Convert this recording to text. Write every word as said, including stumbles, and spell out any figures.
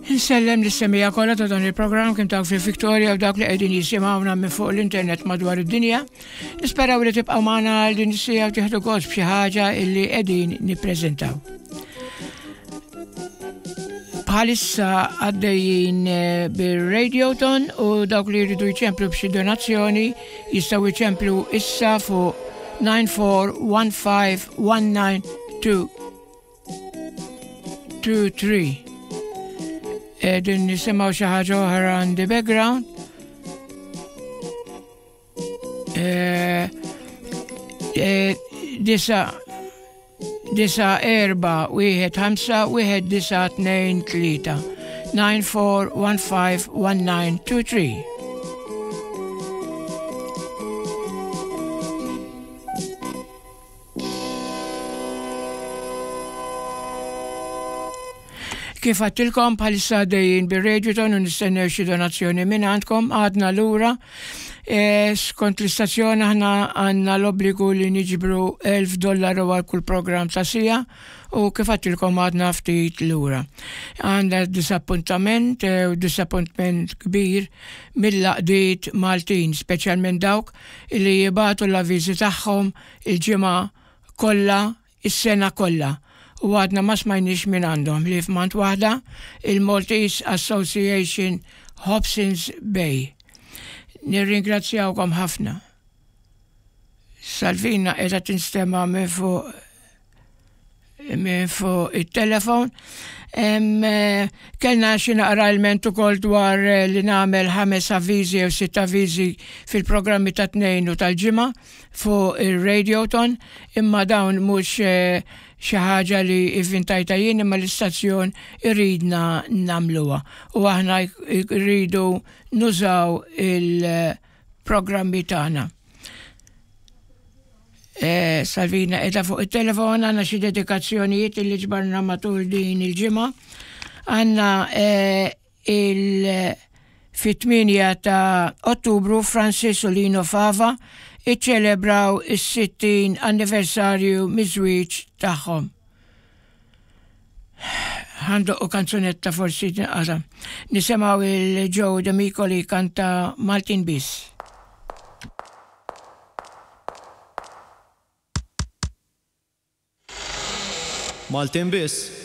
Insellem lis-semmiegħa kollha ta' dan il-programm kemm dawk fil-Victoria u dawk li qegħdin jisimgħuna minn fuq l-internet madwar id-dinja. Nisperaw li tibqgħu magħna għal din is-siegħa u tieħdu gost b'xi ħaġa illi qegħdin nippreżentaw. Bħalissa għaddejjin eh, bir-Radioton u dawk li jridu jċemplu b'xi donazzjoni jistgħu jċemplu issa fuq nine four one five one nine two two three. Qegħdin nisimgħu xi ħaġa oħra on the background. Eh, eh, disa, disa erba' wieħed ħamsa wieħed disa tnejn tlieta. nine four one five one nine two three. Kif għattilkom bħalissa dejjin bir-Radioton u nistennew xi donazzjoni minn għandkom, għadna lura. E, skont l-istazzjon aħna għandna l-obbligu li niġbru elf dollaru għal kull programm ta' sija u kif għattilkom għadna ftit lura. Għandna disappuntament, e, u disappuntament kbir mill-laqdiet Maltin, speċjalment dawk li jibatu l-avviżi tagħhom il-ġimgħa kollha, is-sena kollha. U għadna ma smajniex minn għandhom li f'mant waħda il-Maltese Association Hobsons Bay. Nirringrazzjawkom ħafna. Salvina qiegħda tinstema' minn fuq minn fuq it-telefon. Em, eh, kellna xi naqra ilment ukoll dwar, eh, li nagħmel ħames avviżi jew sitt avviżi fil-programmi ta' tnejn u tal-ġimgħa fuq ir-Radioton, imma dawn mhux, eh, xi ħaġa li ivvintajta jien, imma l-istazzjon iridna nagħmluha u aħna rridu nużaw il-programmi tagħna. Eh, Salvina qiegħda fuq it-telefon, għandna xi dedikazzjonijiet li ġbarna matul din il-ġimgħa. Għandna, eh, il fit-tmienja ta' Ottubru Francis u Lino Fava iċċelebraw is-sittin anniversarju miż-żwieġ tagħhom. Ħandoqqu kanzunetta forsi tinqata'. Nisimgħu il-Joe D'Amico li kanta Maltin Biss. Maltin Biss.